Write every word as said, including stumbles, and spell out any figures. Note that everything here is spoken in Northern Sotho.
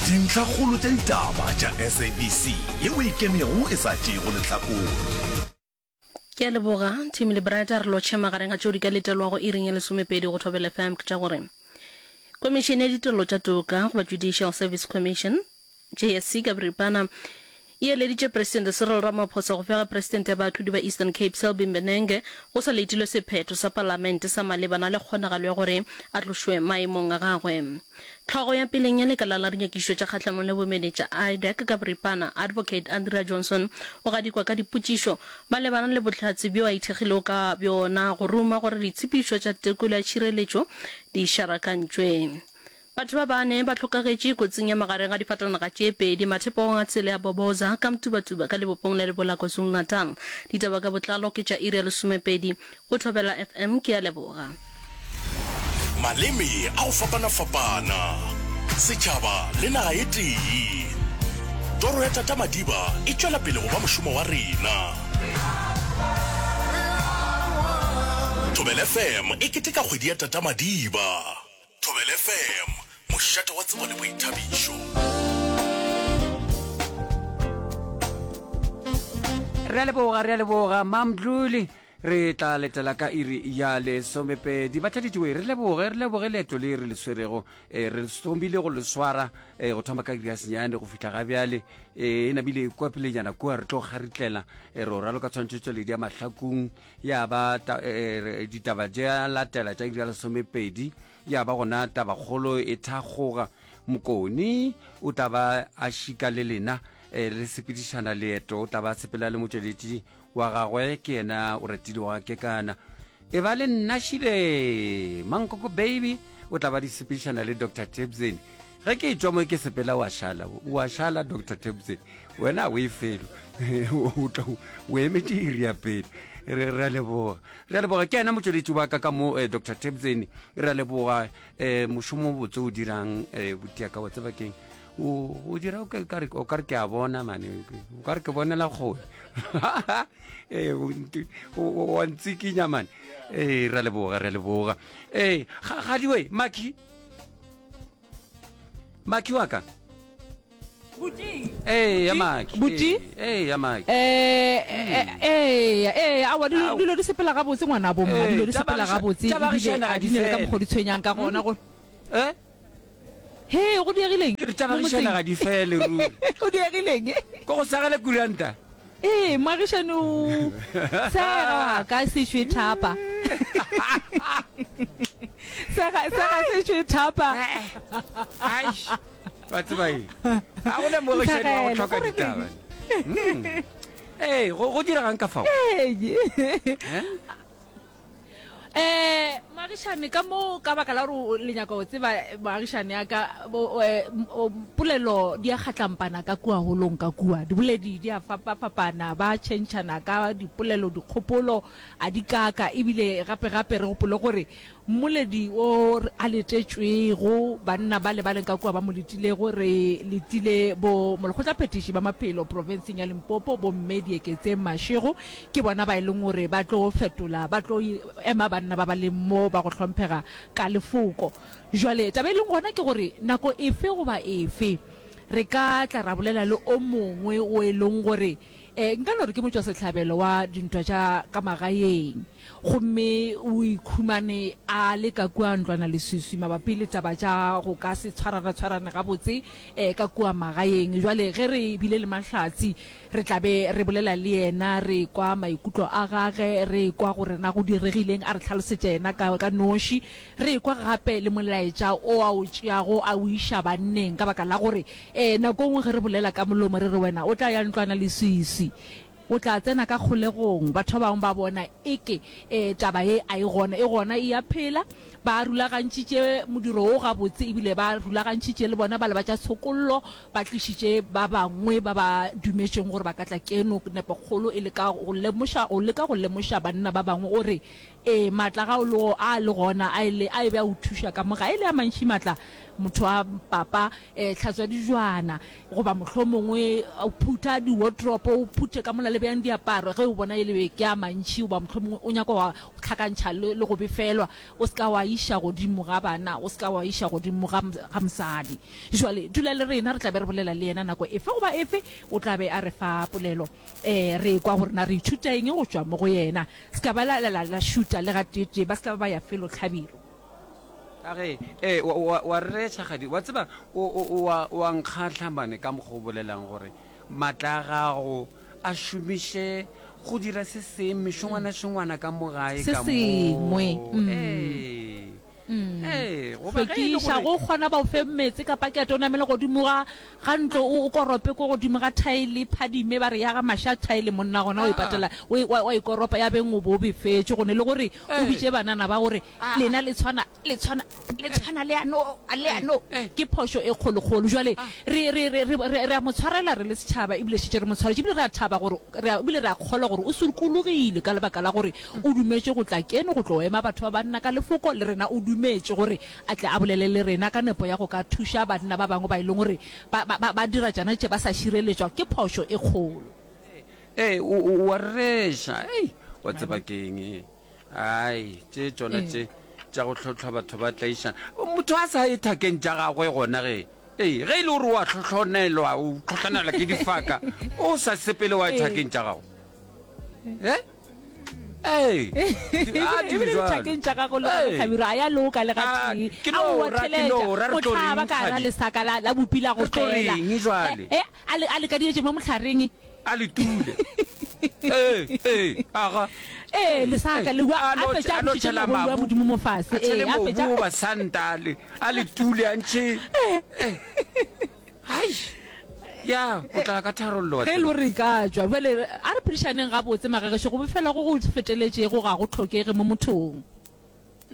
Dintlhakgolo tša ditaba tša S A B C yeo e ikemego e sa tšeego lehlakore. Ke a leboga, Tim le Brad. A re lotšhe magareng ga tšeo di ka letelwago iring ya lesomepedi go Thobela F M ke tša gore Komišene ya Ditirelo tša Toka goba Judicial Service Commission, J S C ka boripana, e eleditše Presidente Cyril Ramaphosa go fega Presidente ya baahlodi ba Eastern Cape Selby Mbenenge go sa letilwe sephetho sa Palamente sa malebana le kgonagalo ya gore a tlošwe maemong a gagwe. Hlogo ya peleng ya lekala la dinyakišišo tša kgahlanong le bomenetša, IDAC ka boripana, Advocate Andrea Johnson o gadikwa ka dipotšišo malebana le bohlatse bjo a ithekgilego ka bjona go ruma gore ditshepišo tša tekolo ya tšhireletšo di šarakantšwe. Batho ba bane ba hlokagetše kotsing ya magareng ga difatanaga tše pedi mathepogong a tsela ya Boboza ka Mtubatuba ka lebopong la Lebola KwaZulu-Natal. Ditaba ka botlalo ke tša iri ya lesomepedi go Thobela F M. Ke a leboga. Maleme a go fapana-fapana, setšhaba le naga e tee. Toro ya Tata Madiba e tšwela pele go ba mošomo wa rena. Thobela F M e keteka kgwedi ya Tata Madiba. Thobela F M, mošate wa tsebo le boithabišo. Re a leboga, re a leboga Mamdluli. Re tla letela ka iri ya lesomepedi. Bathaditšwe, re leboge, re leboge leeto le re le swerego. E, re thomile go le swara e, go thoma ka iri ya senyane go fihla ga bjale. E, e nabile kua pelenyana kua re tlo kgaritlela. E, re o raloka tshwantšhetšo ya mahlakung ya ba ta, e, ditaba tša latela tša iri ya lesomepedi ya ba gona tabakgolo e thakgoga. Mokoni o tla ba a šika le lena e, re sepedišana leeto, o tla ba sepela le motšweletši wa gagwe ke yena o ratile wa kekana e ba le nna šile Mankoko Baby o tla ba di sepedišana le Doctor Tebsen. Ge ke tšwa mo ke sepela wa šala, wa šala Doctor Tebsen, wena o e felo o tla o emetše iri ya pele. Re re a leboga, re a leboga. Ke yena motšweletši wa ka ka mo eh, Doctor Tebsen, re a leboga um mošomo o botse o dirang um botiaka wa tseba keng o o dira o ka re o ka re ke a bona mane, o ka re ke bonela kgole ee wa ntsikinya mane. Ee, re a leboga, re a leboga. Ee, gadiwe maki maki wa ka. Ee, ya maki. Buti? Ee, ya maki. Eh eh eh awa, dilo dilo di sepela gabotse, ngwana bo mma, dilo di sepela gabotse ebile a di ne le ka mokgwa di tshwenyang ka gona go eh He, go diegileng? Ke re tša baagišane ga di fele ruri. Go diegileng? Ko go sagele kuranta. Ee, moagišane o sega wa ka sešwe thapa. Sega sega sešwe thapa. Aish, wa tseba eng, ga go na moagišane wa go hloka ditaba. Ee, go go diregang ka fao? Ee. Eh moagišane ka mo ka baka la gore le nyaka go tseba moagišane ya ka, polelo di a kgatlampana ka kua holong ka kua, diboledi di a fapafapana, ba tšhentšhana ka dipolelo, dikgopolo a di kaka, ebile gape gape re gopole gore mmoledi o a letetšwego, banna ba le ba leng ka kua ba mo letilego, re letile bo molekgotlaphethiši ba maphelo profenseng ya Limpopo, bomme Dieketseng Mashego, ke bona ba e leng gore ba tlo fetola, ba tlo ema banna ba ba leng mo ba go hlomphega ka lefoko. Jwale taba e leng gona ke gore nako efe goba efe re ka tla ra bolela le o mongwe o e leng gore um nka no re ke motšwasehlabelo wa dintwa tša ka magaeng, gomme o ikhumane a le ka kua ntlwana leswiswi mabapi le taba tša go ka se tshwarana-tshwarane gabotse um ka kua magaeng. Jwale ge re bile le mahlatsi re tla be re bolela le yena, re kwa maikutlo a gage, re kwa gore na go diregileng, a re hlalosetše yena ka ka noši, re kwa gape le molaetša o a o tšeago a o iša banneng, ka baka la gore um nako nngwe ge re bolela ka molomo re re wena o tla ya ntlwana leswiswi, o tla tsena ka kgolegong, batho ba bangwe ba bona eke um taba ye a e gona, e gona, e ya phela. Ba rulagantšitše modiro wo gabotse, ebile ba rulagantšitše le bona ba le ba tša tshokollo, ba tlišitše ba bangwe ba ba dumetšeng gore ba ka tla keno, nepokgolo e le ka go lemoša, go leka go lemoša banna ba bangwe gore ee maatla ga o le a le gona a ile a e be a o thuša ka mo ga e le a mantši maatla motho wa papa um hlatswa dijwana goba mohlomongwe o phutha di-wardrobe o phuthe ka mola le beyang diaparo ge o bona e le ke a mantši goba mohlomongwe o nyaka wa hlakantšha le, le go befelwa o se ka wa iša godimo ga bana o se ka wa iša godimo ga, ga mosadi jwale dula le rena re tla be re bolela le yena nako efe goba efe o tla be a re fa polelo um re kwa gore na re ithuta eng go tšwa mo go yena se ka ba la, la, la, la šuta le gateetee ba se ka ba ba ya felo tlhabiro Ka ge, ee, wa, wa, wa reretša, Kgadi. Wa tseba, o, o, o a, o a nkgahla mane ka mokgwa o bolelang gore matla a gago a šomiše go dira se seng, mešongwana-šongwana ka mo gae se ka sengwe mo. mm. Ee, ee, goba ge e le hlwekiša gore go kgona ba o fe meetse ka pakete o namele godimo ga ga ntlo o o korope ko godimo ga thaele phadime ba re ya ga maša thaele monna gona o e ah, patela o e- wa wa e koropa ya beng o bo o befetše go ne le gore o ee, bitše banana ba gore ah, lena le tshwana le tshwana le ee, tshwana le ano le ee, ano ee, ke phošo e kgolokgolo jwale ah. re re re re re re a mo tshwarela re le setšhaba ebile šetše re mo tshwaretše ebile re a thaba gore re a ebile re a kgolwa gore o sokologile ka lebaka la gore o dumetše go tla keno go tlo ema batho ba banna ka lefoko le rena o dumetše gore a tle a bolele le rena ka nepo ya go ka thuša banna ba bangwe ba e leng gore ba ba ba ba dira tšana tše ba sa šireletšwa ke phošo e kgolo. Ee, o, o, o a rereša. Ei, wa tseba Wa bona? ke eng? Ai, tše tšona Ee. tše tša go hlohlwa batho ba tlaišana. Motho a sa ye thakeng tša gagwe gona ge. Ee, ge e le gore o a hlohlonelwa, o hlohlonelwa ke difaka, o sa sepele wa ye Ee. thakeng tša gago. Eh? Ee, di, a di ebile bjalo. dithakeng tša gago le gona Ee. Hlabirwa a ya loka le A, gatee ke no aowa ra, ke theletša no ra, re tlo mohlaba reng, ka ra Kgadi? lesaka la, la bupi la go Re tlo fela reng jwale? e, a le, a le kadietše mo mohlareng A le tule. Ee, ee, aga. Ee, lesaka Ee, le a a no, fetša a a no bušetše tšhela maboulu a mabu, modimo mo fase a tšhele ee a mobu fetša goba santa, a le, a le tule, a ntšhe. Ee. Hai. Ya, o tla ka tharollo wa Ge e le tseba. gore re ka tšwa bjale, a re phedišaneng gabotse magagešo, go befela go go feteletšego ga go hlokege mo mothong.